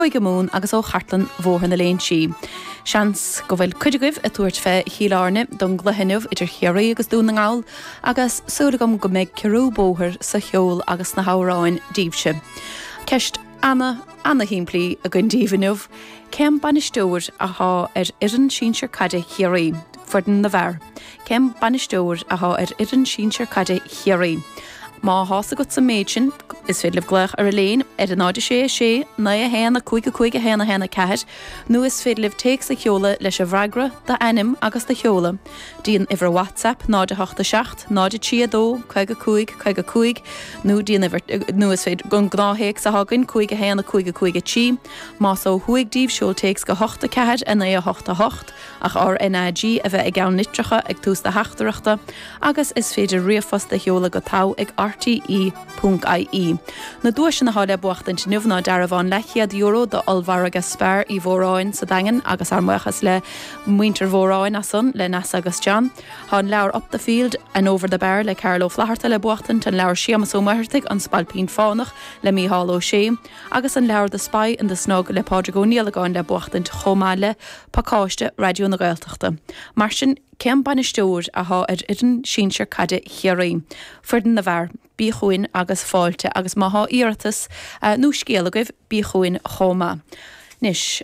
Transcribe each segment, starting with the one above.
Chúige Mumhan agus ó chartlann Bhóthar na Léinsí. Seans go bhfuil cuid agaibh ag tabhairt fé Chill Airne don gcluiche inniu idir Chiarraí agus Dún na nGall agus súil agam go mbeidh ciorrú bóthair sa cheol agus sna hamhráin daoibhse. Ceist ana, ana-shimplí againn daoibh inniu, cén bainisteoir athá ar fhoireann sinsir caide Chiarraí, foireann na bhfear? Cén bainisteoir athá ar fhoireann sinsir caide Chiarraí? Má thá's agat an méid sin, is féidir libh glaoch ar an léin ar 0 6 6 9 1 5 5 1 1 4 nó is féidir libh téacs a sheoladh leis an bhfreagra, d'ainm agus do sheoladh, dtí an uimhir WhatsApp 0 8 7 0 3 2 55 55 nó dtí an uimhir nó is féidir an gnáth-théacs athá againn 5 1 5 5 3. Más ó thuaidh díbh seol téacs go 8 4 9 8 8. ach RnaG a bheith i gceann litreacha ag tús do theachtaireachta agus is féidir ríomhphost a sheoladh go togha ag rte ponc ie. Na duaiseanna atá le buachtaint inniu ná dearbhán leathchéad euro d'ollmhargadh Spar Uí Mhóráin sa Daingean agus ár mbuíochas le muintir Mhóráin as san, le Neasa agus John. Tá an leabhar Up the Field and Over the Bar le Carl Ó Flatharta le buachtaint, an leabhar Séamus Ó Muircheartaigh, An Spailpín Fánach le Mícheál Ó Sé, agus an leabhar The Spy in the Snug le Pádraig Ó Niallagáin le buachtaint chomh maith le pacáiste Raidió na Gaeltachta. Mar sin, cén bainisteoir athá ar fhoireann sinsir caide Chiarraí? Foireann na bhfear. Bí chugainn agus fáilte agus má thá iarratas nó scéal agaibh, bí chugainn chomh maith. Anois,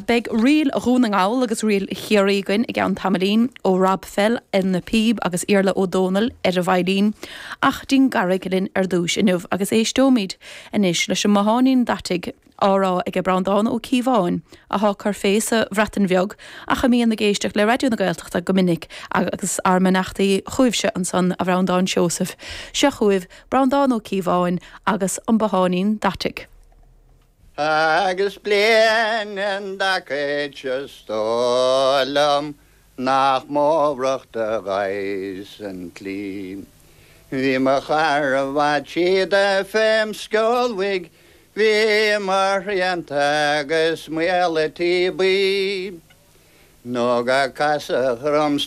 beidh ríl Dhún na nGall agus ríl Chiarraí againn i gceann tamaillín, ó Rob Fell ar na píb agus Iarla Ó Dónaill ar an veidhlín, ach dtí'n gCarraig linn ar dtúis inniu agus éisteoimid anois leis an mBotháinín Daiteach á rá aige Breandán Ó Cíobháin, athá ag cur fé sa Bhreatain Bheag ach a mbíonn ag éisteacht le Raidió na Gaeltachta go minic agus ár mbeannachtaí chugaibhse ansan a Bhreandáin Seosaimh. Seo chugaibh Breandán Ó Cíobháin agus an Botháinín Daiteach. Agus bliain i dtaca is dóigh liom Nach m'fhómhrach do ghaibhs an tslí. Bhí mo chara bhfad síoda fém sceolbhaigh, Bhí mo shrianta agus maol a' tí buí. Nó go casadh orm.